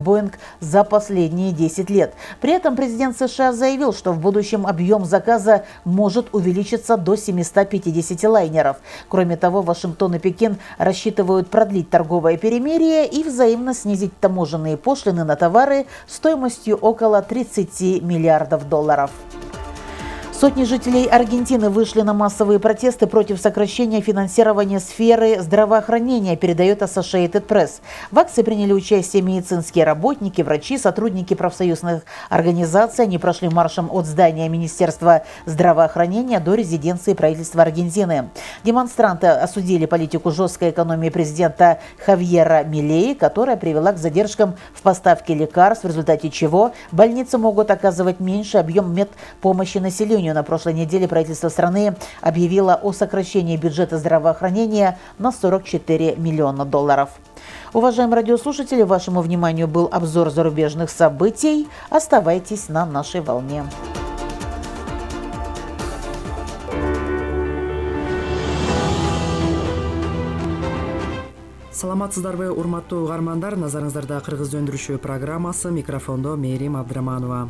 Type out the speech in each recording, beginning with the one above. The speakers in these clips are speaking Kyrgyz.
Boeing за последние 10 лет. При этом президент США заявил, что в будущем объем заказа может увеличиться до 750 лайнеров. Кроме того, Вашингтон и Пекин рассчитывают продлить торговое перемирие и взаимно снизить таможенные пошлины на товары стоимостью около 30 миллиардов долларов. Сотни жителей Аргентины вышли на массовые протесты против сокращения финансирования сферы здравоохранения, передает Associated Press. В акции приняли участие медицинские работники, врачи, сотрудники профсоюзных организаций. Они прошли маршем от здания Министерства здравоохранения до резиденции правительства Аргентины. Демонстранты осудили политику жесткой экономии президента Хавьера Милеи, которая привела к задержкам в поставке лекарств, в результате чего больницы могут оказывать меньший объем медпомощи населению. На прошлой неделе правительство страны объявило о сокращении бюджета здравоохранения на 44 миллиона долларов. Уважаемые радиослушатели, вашему вниманию был обзор зарубежных событий. Оставайтесь на нашей волне. Саламатсыздарбы, урматтуу угармандар, назарыңыздарда кыргыз өндүрүшү программасы, микрофондо Мээрим Абдыраманова.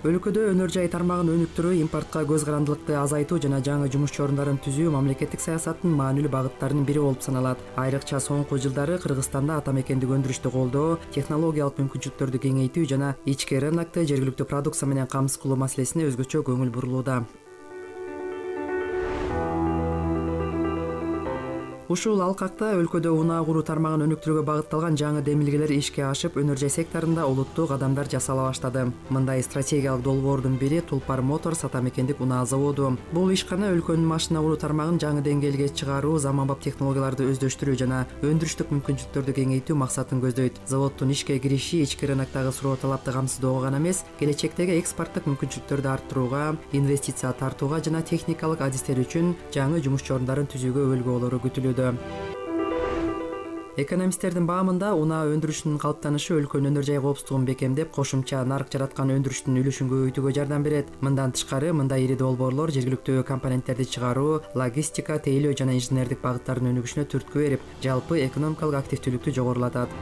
Өлкөдө өнөр жай тармагын өнүктүрүү, импортко көз карандылыкты азайтуу жана жаңы жумуш орундарын түзүү мамлекеттик саясаттын маанилүү багыттарынын бири болуп саналат. Айрыкча соңку жылдары Кыргызстанда атамекендик өндүрүштү колдоо, технологиялык мүмкүнчүлүктөрдү кеңейтүү жана ички рынокто жергиликтүү продукция менен камсыз кылуу маселесине өзгөчө көңүл бурулууда. Ушул алкакта өлкөдө унаа куруу тармагын өнүктүрүүгө багытталган жаңы демилгелер ишке ашып, өнөр жай секторунда олуттуу кадамдар жасала баштады. Мындай стратегиялык долбоордун бири Tulpar Motors атамекендик унаа заводу. Бул ишкана өлкөнүн машина куруу тармагын жаңы деңгээлге чыгаруу, заманбап технологияларды өздөштүрүү жана өндүрүштүк мүмкүнчүлүктөрдү кеңейтүү максатын көздөйт. Заводдун ишке кириши ички рыноктогу суроо талапты камсыздоого гана эмес, келечектеги экспорттук мүмкүнчүлүктөрдү арттырууга, инвестиция тартууга жана техникалык адистер үчүн жаңы жумуш орундарын түзүүгө өлгү болору күтүлүүдө. Экономисттердин баамында унаа өндүрүшүнүн калыптанышы өлкөнүн өнөр жай коопсуздугун бекемдеп, кошумча нарк жараткан өндүрүштүн үлүшүн көбөйтүүгө жардам берет. Мындан тышкары, мындай ири долбоорлор жергиликтүү компоненттерди чыгаруу, логистика, тейлөө жана инженердик багыттардын өнүгүшүнө түрткү берип, жалпы экономикалык активдүүлүктү жогорулатат.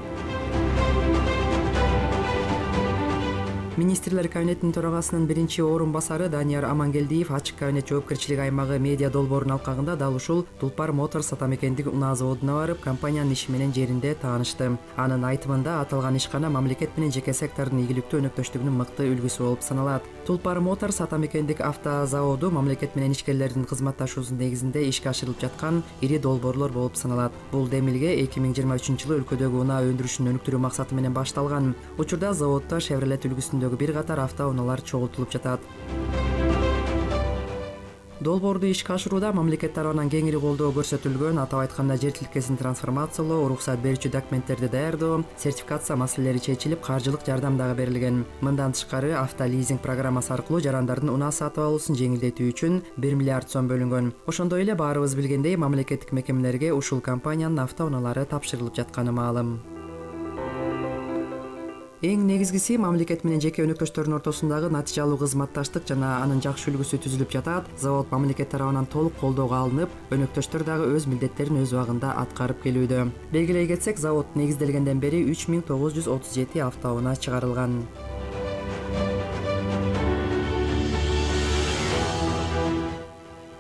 Министрлер кабинетинин төрагасынын биринчи орун басары Данияр Амангелдиев ачык кабинет жоопкерчилиги аймагы медиа долбоорунун алкагында дал ушул Tulpar Motors атамекендик унаа заводуна барып, компаниянын иши менен жеринде таанышты. Анын айтымында аталган ишкана мамлекет менен жеке сектордун ийгиликтүү өнөктөштүгүнүн мыкты үлгүсү болуп саналат. Tulpar Motors атамекендик автозаводу мамлекет менен ишкерлердин кызматташуусунун негизинде ишке ашырылып жаткан ири долбоорлор болуп саналат. Бул демилге 2023-жылы өлкөдөгү унаа өндүрүшүн өнүктүрүү максаты менен башталган. Учурда заводдо Chevrolet үлгүсүндөгү бир катар автоунаалар чогултулуп жатат. Долбоорду ишке ашырууда мамлекет тарабынан кеңири колдоо көрсөтүлгөн, атап айтканда жер тилкесин трансформациялоо, уруксат берүүчү документтерди даярдоо, сертификация маселелери чечилип, каржылык жардам дагы берилген. Мындан тышкары, автолизинг программасы аркылуу жарандардын унаа сатып алуусун жеңилдетүү үчүн 1 миллиард сом бөлүнгөн. Ошондой эле баарыбыз билгендей, мамлекеттик мекемелерге ушул компаниянын автоунаалары тапшырылып жатканы маалым. Эң негизгиси мамлекет менен жеке өнөктөштөрдүн ортосундагы натыйжалуу кызматташтык жана анын жакшы үлгүсү түзүлүп жатат. Завод мамлекет тарабынан толук колдоого алынып, өнөктөштөр дагы өз милдеттерин өз убагында аткарып келүүдө. Белгилей кетсек, завод негизделгенден бери 3937 автоунаа чыгарылган.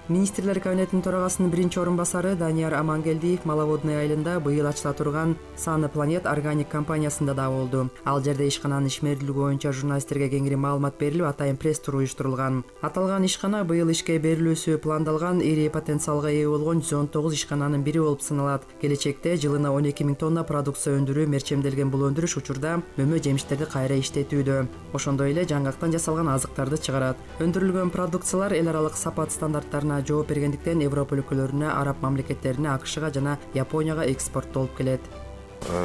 Министрлер кабинетинин төрагасынын биринчи орун басары Данияр Амангелдиев Маловодный айылында быйыл ачыла турган Саны Планет органик компаниясында да болду. Ал жерде ишкананын ишмердүүлүгү боюнча журналисттерге кеңири маалымат берилип, атайын пресс-тур уюштурулган. Аталган ишкана быйыл ишке берилүүсү пландалган ири потенциалга ээ болгон 119 ишкананын бири болуп саналат. Келечекте жылына 12 000 тонна продукция өндүрүү мерчемделген бул өндүрүш учурда мөмө жемиштерди кайра иштетүүдө. Ошондой эле жаңгактан жасалган азыктарды чыгарат. Өндүрүлгөн продукциялар эл аралык сапат стандарттарына жооп бергендиктен Европа өлкөлөрүнө, араб мамлекеттерине, АКШга жана Японияга экспорттолуп келет.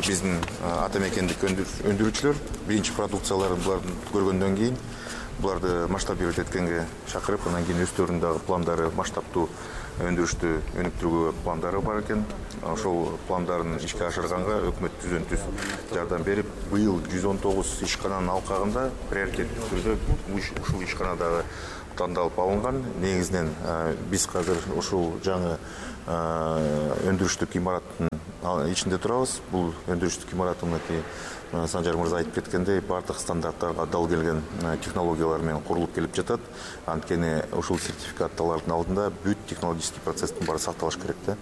Биздин атамекендик өндүрүүчүлөр биринчи продукцияларын буларды көргөндөн кийин буларды масштабировать эткенге чакырып, анан кийин өздөрүнүн дагы пландары, масштабтуу өндүрүштү өнүктүрүүгө пландары бар экен. Ошол пландарын ишке ашырганга өкмөт түздөн-түз жардам берип, быйыл 119 ишкананын алкагында приоритеттүү түрдө ушул ишканадагы тандалып алынган. Негизинен биз азыр ушул жаңы өндүрүштүк имараттын ичинде турабыз. Бул өндүрүштүк имарат мынакей Санжар мырза айтып кеткендей, бардык стандарттарга дал келген технологиялар менен курулуп келип жатат. Анткени ушул сертификат алардын алдында бүт технологический процесстин баары сакталыш керек да.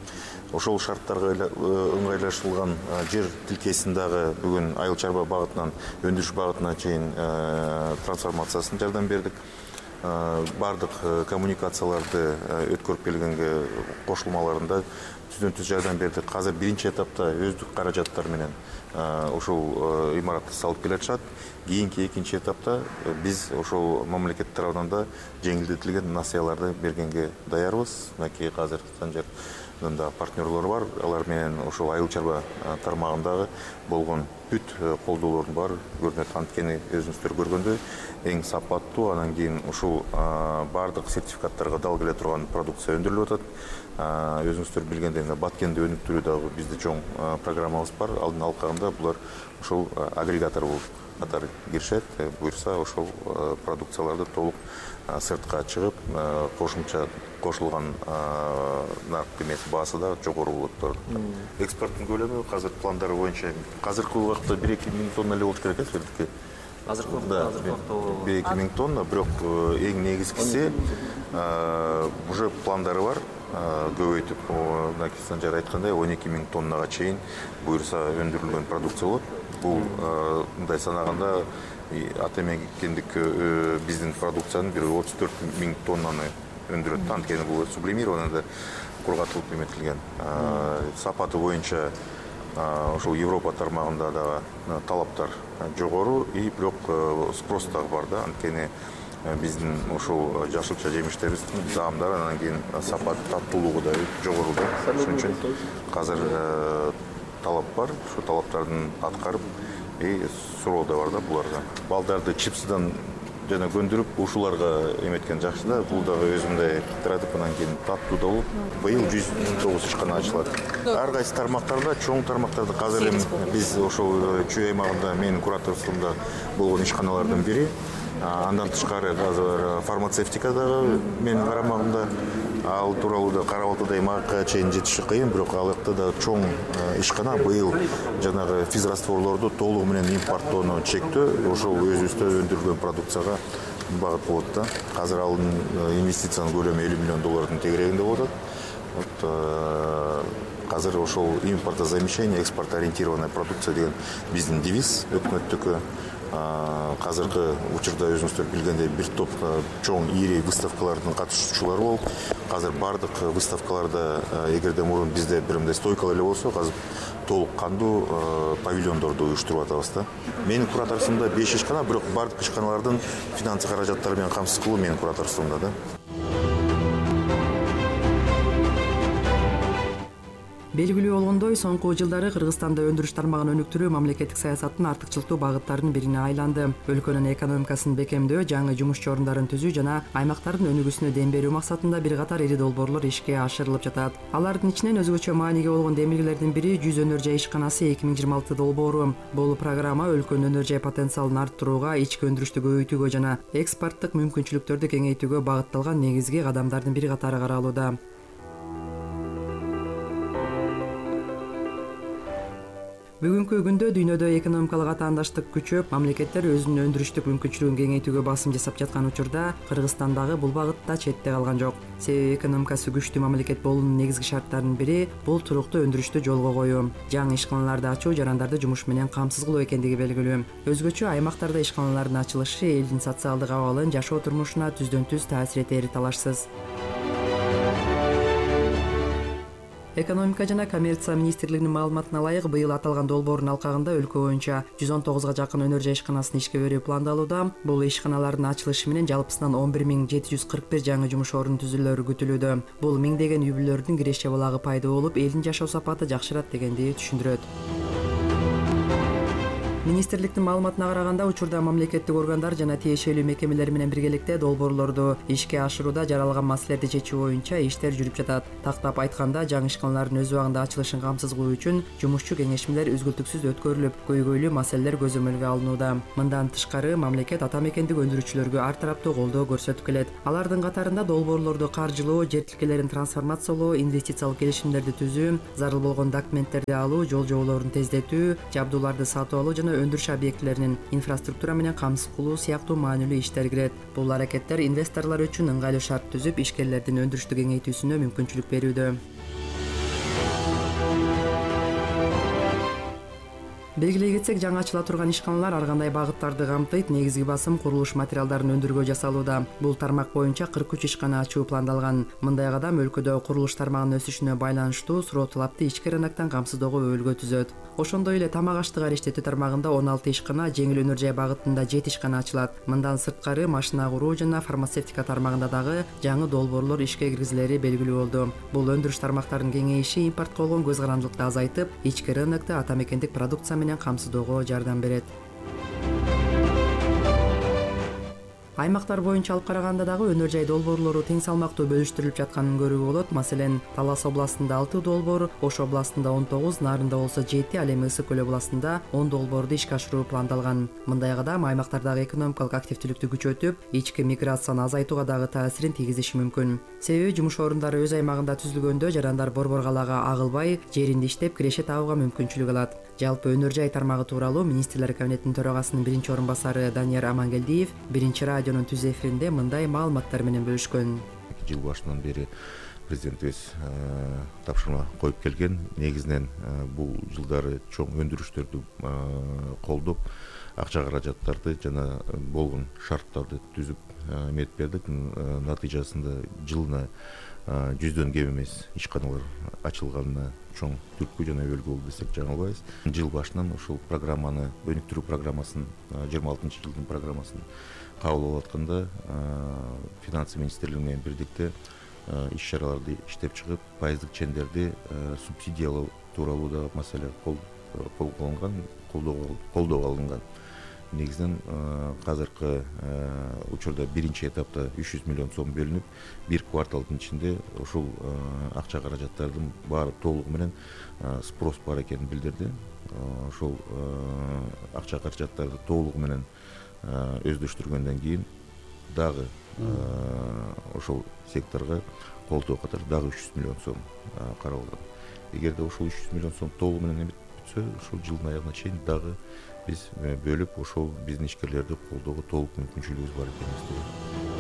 Ошол шарттарга ыңгайлашылган жер тилкесин дагы бүгүн айыл чарба багытынан өндүрүш багытына чейин трансформациясына жардам бердик. Бардык коммуникацияларды өткөрүп келгенге кошулмаларында түздөн түз жардам бердик. Азыр биринчи этапта өздүк каражаттар менен ушул имаратты салып келатышат. Кийинки экинчи этапта биз ошол мамлекет тарабынан да жеңилдетилген насыяларды бергенге даярбыз. Мынакей азыр Санжардын да партнерлору бар. Алар менен ошол айыл чарба тармагындагы болгон бүт колдоолордун баары көрүнөт. Анткени өзүңүздөр көргөндөй эң сапаттуу, анан кийин ушул бардык сертификаттарга дал келе турган продукция өндүрүлүп атат. Өзүңүздөр билгендей Баткенди өнүктүрүү дагы бизде чоң программабыз бар. Алдын алкагында булар ошол агрегатор болуп катары киришет. Буюрса ошол продукцияларды толук сыртка чыгып, кошумча кошулган нарк эмеси баасы да жогору болот. Экспорттун көлөмү азыр пландары боюнча азыркы убакытта 1-2 миң тонна эле болуш керек эсептке. Азыркы убакта 1-2 миң тонна, бирок эң негизгиси уже пландары бар. Көбөйтүп, мынакей Санжар айткандай 12 миң тоннага чейин буюрса өндүрүлгөн продукция болот. Бул мындай санаганда ата мекендик биздин продукциянын бир 34 миң тоннаны өндүрөт. Анткени бул сублимированный кургатылып эметилген. Сапаты боюнча ошол Европа тармагында дагы талаптар жогору, бирок спрос дагы бар да. Анткени биздин ошол жашылча жемиштерибиздин даамдары анан кийин сапат, таттуулугу да жогору да. Ошон үчүн азыр талап бар. Ошол талаптардын аткарып, суроо да бар да буларга. Балдарды чипсыдан жана көндүрүп ушуларга эметкен жакшы да. Бул дагы өзүндөй кыдыратып, анан кийин таттуу да болуп. Быйыл 109 ишкана ачылат. Ар кайсы тармактарда, чоң тармактарда азыр биз ошол Чүй аймагында менин кураторствомдо болгон ишканалардын бири. Андан тышкары азыр фармацевтика дагы менин карамагымда. Ал тууралуу да Кара Балтада аймакка чейин жетиши кыйын, бирок ал жакта да чоң ишкана. Быйыл жанагы физрастворлорду толугу менен импорттоону чектөө ошол өзүбүздө өндүрүлгөн продукцияга багыт болот да. Азыр алын инвестициянын көлөмү $50 миллион тегерегинде болот. Азыр ошол импортозамещение, экспортоориентированная продукция деген биздин девиз өкмөттүкү. Азыркы учурда өзүңүздөр билгендей бир топ чоң ири выставкалардын катышуучулары болуп, азыр бардык выставкаларда эгерде мурун бизде бир мындай стойкалар эле болсо, азыр толук кандуу павильондорду уюштуруп атабыз да. Менин кураторствомдо 5 ишкана, бирок бардык ишканалардын финансы каражаттары менен камсыз кылуу менин кураторствомдо да. Белгилүү болгондой, соңку жылдары Кыргызстанда өндүрүш тармагын өнүктүрүү мамлекеттик саясаттын артыкчылыктуу багыттарынын бирине айланды. Өлкөнүн экономикасын бекемдөө, жаңы жумуш орундарын түзүү жана аймактардын өнүгүүсүнө дем берүү максатында бир катар ири долбоорлор ишке ашырылып жатат. Алардын ичинен өзгөчө мааниге болгон демилгелердин бири 100 өнөр жай ишканасы 2026 долбоору. Бул программа өлкөнүн өнөр жай потенциалын арттырууга, ички өндүрүштү көбөйтүүгө жана экспорттук мүмкүнчүлүктөрдү кеңейтүүгө багытталган негизги кадамдардын бири катары каралууда. Бүгүнкү күндө дүйнөдө экономикалык атаандаштык күчөп, мамлекеттер өзүнүн өндүрүштүк мүмкүнчүлүгүн кеңейтүүгө басым жасап жаткан учурда Кыргызстандагы бул багытта четте калган жок. Себеби экономикасы күчтүү мамлекет болуунун негизги шарттарынын бири бул туруктуу өндүрүштү жолго коюу. Жаңы ишканаларды ачуу жарандарды жумуш менен камсыз кылуу экендиги белгилүү. Өзгөчө аймактарда ишканалардын ачылышы элдин социалдык абалын, жашоо турмушуна түздөн түз таасир этери талашсыз. Экономика жана коммерция министрлигинин маалыматына ылайык, быйыл аталган долбоордун алкагында өлкө боюнча 119 жакын өнөр жай ишканасын ишке берүү пландалууда. Бул ишканалардын ачылышы менен жалпысынан 11.741 жаңы жумуш ордунун түзүлөрү күтүлүүдө. Бул миңдеген үй бүлөлөрдүн киреш жабылагы пайда болуп, элдин жашоо сапаты жакшырат дегенди түшүндүрөт. Министрликтин маалыматына караганда, учурда мамлекеттик органдар жана тиешелүү мекемелер менен биргеликте долбоорлорду ишке ашырууда жаралган маселелерди чечүү боюнча иштер жүрүп жатат. Тактап айтканда, жаңы ишканалардын өз убагында ачылышын камсыз кылуу үчүн жумушчу кеңешмелер үзгүлтүксүз өткөрүлүп, көйгөйлүү маселелер көзөмөлгө алынууда. Мындан тышкары, мамлекет ата мекендик өндүрүүчүлөргө ар тараптуу колдоо көрсөтүп келет. Алардын катарында долбоорлорду каржылоо, жер тилкелерин трансформациялоо, инвестициялык келишимдерди түзүү, зарыл болгон документтерди алуу, жол жоболорун тездетүү, жабдууларды сатып алуу жана өндүрүш объектилеринин инфраструктура менен камсыз кылуу сыяктуу маанилүү иштер кирет. Бул аракеттер инвесторлор үчүн ыңгайлуу шарт түзүп, ишкерлердин өндүрүштү кеңейтүүсүнө мүмкүнчүлүк берүүдө. Белгилей кетсек, жаңы ачыла турган ишканалар ар кандай багыттарды камтыйт. Негизги басым курулуш материалдарын өндүрүүгө жасалууда. Бул тармак боюнча 43 ишкана ачуу пландалган. Мындай кадам өлкөдө курулуш тармагынын өсүшүнө байланыштуу суроо талапты ички рыноктон камсыздоого өбөлгө түзөт. Ошондой эле тамак аштык ариштетүү тармагында 16 ишкана, жеңил өнөр жай багытында 7 ишкана ачылат. Мындан сырткары машина куруу жана фармацевтика тармагында дагы жаңы долбоорлор ишке киргизилери белгилүү болду. Бул өндүрүш тармактарынын кеңейиши импортко болгон көз карандылыкты азайтып, ички рынокту ата мекендик продукция менен камсыздоого жардам берет. Аймактар боюнча алып караганда дагы өнөр жай долбоорлору тең салмактуу бөлүштүрүлүп жатканын көрүүгө болот. Маселен, Талас областында 6 долбоор, Ош областында 19, Нарында болсо 7, ал эми Ысык көл областында 10 долбоорду ишке ашыруу пландалган. Мындай кадам аймактардагы экономикалык активдүүлүктү күчөтүп, ички миграцияны азайтууга дагы таасирин тийгизиши мүмкүн. Себеби жумуш орундары өз аймагында түзүлгөндө жарандар борбор калаага агылбай, жеринде иштеп киреше табууга мүмкүнчүлүк алат. Жалпы өнөр жай тармагы тууралуу Министрлер кабинетинин төрагасынын биринчи орун басары Данияр Амангелдиев биринчи радионун түз эфиринде мындай маалыматтар менен бөлүшкөн. Жыл башынан бери президентибиз тапшырма коюп келген. Негизинен бул жылдары чоң өндүрүштөрдү колдоп, акча каражаттарды жана болгон шарттарды түзүп эметип бердик. Натыйжасында жылына 100дөн кем эмес ишканалар ачылганына чоң түрткү жана өбөлгө болду десек жаңылбайбыз. Жыл башынан ушул программаны, өнүктүрүү программасын, 26-жылдын программасын кабыл алып атканда финансы министрлиги менен бирдикте иш чараларды иштеп чыгып, пайыздык чендерди субсидиялоо тууралуу да маселе колдоого алынган. Негизинен азыркы учурда биринчи этапта 300 миллион сом бөлүнүп, бир кварталдын ичинде ушул акча каражаттардын баары толугу менен спрос бар экенин билдирди. Ошол акча каражаттарды толугу менен өздөштүргөндөн кийин дагы ошол секторго колдоо катары дагы 300 миллион сом каралган. Эгерде ушул 300 миллион сом толугу менен бүтсө, ушул жылдын аягына чейин дагы биз бөлүп, ошол биздин ишкерлерди колдоого толук мүмкүнчүлүгүбүз бар экенибизди